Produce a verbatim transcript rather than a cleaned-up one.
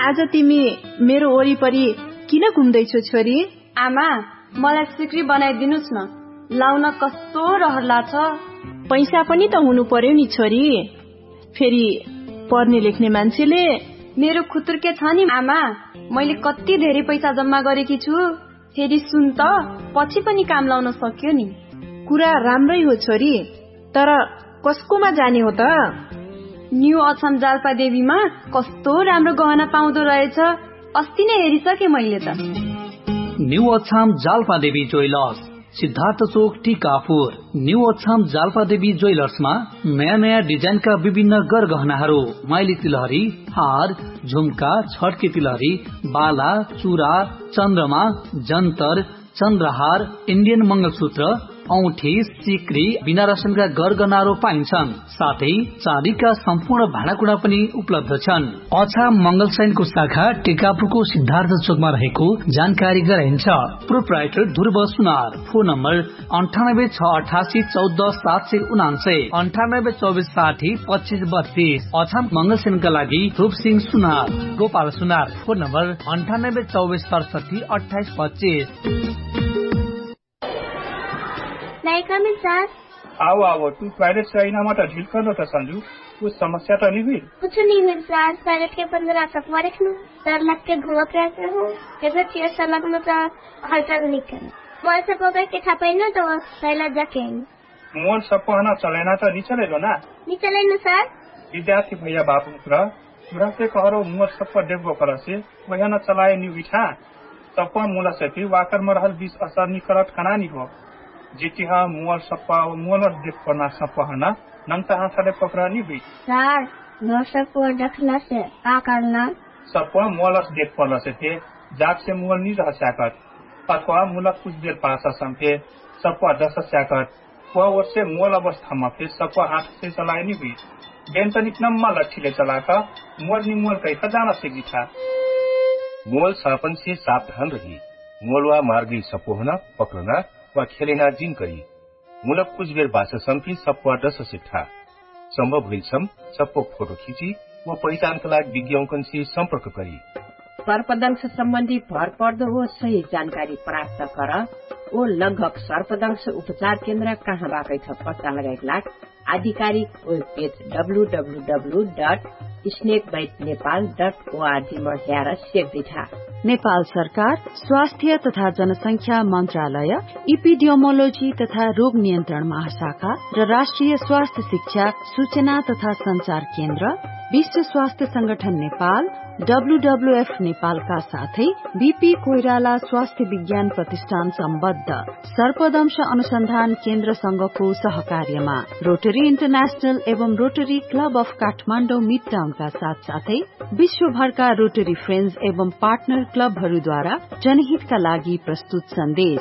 आज तिमी मेरो वरिपरि किन घुम्दैछौ छोरी? आमा, मलाई सिक्री बनाइदिनुस् न। लाउन कस्तो रहर लाछ। पैसा पनि त हुनु पर्‍यो नि छोरी। फेरि पढ्ने लेख्ने मान्छेले। मेरो खुतुर्के छ नि आमा, मैले कति धेरै पैसा जम्मा गरेकी छु। फेरि सुन त, पछि पनि काम लाउन सक्यो नि। कुरा राम्रै हो छोरी, तर कसकोमा जाने हो त? न्यु अछाम जालपा देवीमा कस्तो राम्रो गहना पाउँदो रहेछ। अस्ति नै हेरिसके मैले त। न्यु अछाम जालपा देवी ज्वेलर्स, सिद्धार्थ चोक, टिकापुर। न्यु अछाम जालपा देवी ज्वेलर्समा नयाँ नयाँ डिजाइनका विभिन्न गरगहनाहरू, माइली तिलहरी, हार, झुम्का, छड्के तिलहरी, बाला, चुरा, चन्द्रमा, जन्तर, चन्द्रहार, इन्डियन मङ्गलसूत्र, औठी, सिक्री, बिनारसनका गरगहनाहरू पाइन्छन्। साथै चाँदीका सम्पूर्ण भाँडाकुँडा पनि उपलब्ध छन्। अछाम मङ्गलसैनको शाखा टिकापुरको सिद्धार्थ चोकमा रहेको जानकारी गराइन्छ। प्रोप्राइटर ध्रुव सुनार। फोन नम्बर अन्ठानब्बे छ अठासी चौध सात सय उनान्सय, अन्ठानब्बे चौबिस साठी पच्चिस बत्तिस। अछाम मङ्गलसेनका लागि रूपसिंह सुनार, गोपाल सुनार। फोन नम्बर अन्ठानब्बे चौबिस सडसठी अठाइस पच्चिस। नाइका मिल सास। आओ आओ, तू टॉयलेट से आइना माता ढिल कर लो त संजू। कुछ समस्या त नहीं हुई? कुछ नहीं हुई सास, टॉयलेट के बंद रास्ता पर रखनू। डर लग के घुमत रहते हो। एगो चेयर से लगनू त हल्का नहीं करे। मोर से को के था पहिनो तो पहला जाके आई। मोर सप्पहना चलैना त निचलैलो ना? निचलैलो सर। विद्यार्थी भैया बाबु मित्र, तुरहसे कहरो मोर सप्पह देखबो करसे, वैहन चलाए नि उठा। सप्पह मुला सेती वाकर मरहल बीस असर नि करत कना नि हो। जितिहा मोर सप्पह मोर देख पर्ना सप्पहना नंगता हाथले पकड़ा नि हुई। सर, मोर सप्पह देखला से का करना? सप्पह मोलस देख पर्ला सेते जाग से मोल नि रह स्याकत। अथवा मुला कुछ देर पासा सम्पे सप्पह दस स्याकत। वा ओर्से मोल अवस्थामा फे सप्पा हाथसे चलाए नि हुइ। बेन्तनिक नम्मा लठ्ठीले चलाक मोल नि मोल कैक जान सेगिठा। मोल सापनसे सावधान रहि। मोल वा मार्गै सप्पोहना पक्रना वा खेलेना जिन करी। मुलक कुछ बेर बाससम फि सप्पा दससे ठा। सम्भव हुइलसम सप्पो फोटो खिची वा पहिचानका लाग विज्ञौकनसे सम्पर्क करी। सर्पदंश सम्बन्धी भर पर्दो हो सही जानकारी प्राप्त कर। ओ लगभग सर्पदंश उपचार केन्द्र कहाँ बाकैछ पत्ता लगाइक लाग आधिकारिक web page W W W dot snake bite Nepal dot O R G मा ह्यार सेक्दिठा। नेपाल सरकार स्वास्थ्य तथा जनसंख्या मन्त्रालय, इपिडियोमोलोजी तथा रोग नियन्त्रण महाशाखा र राष्ट्रिय स्वास्थ्य शिक्षा सूचना तथा सञ्चार केन्द्र, विश्व स्वास्थ्य संगठन नेपाल, डब्लुडब्लुएफ नेपालका साथै बिपी कोइराला स्वास्थ्य विज्ञान प्रतिष्ठान सम्बद्ध सर्पदंश अनुसन्धान केन्द्रसँगको सहकार्यमा रोटरी इन्टरनेशनल एवं रोटरी क्लब अफ काठमाडौँ मिडटाउनका साथसाथै विश्वभरका रोटरी फ्रेन्ड्स एवं पार्टनर क्लबहरूद्वारा जनहितका लागि प्रस्तुत सन्देश।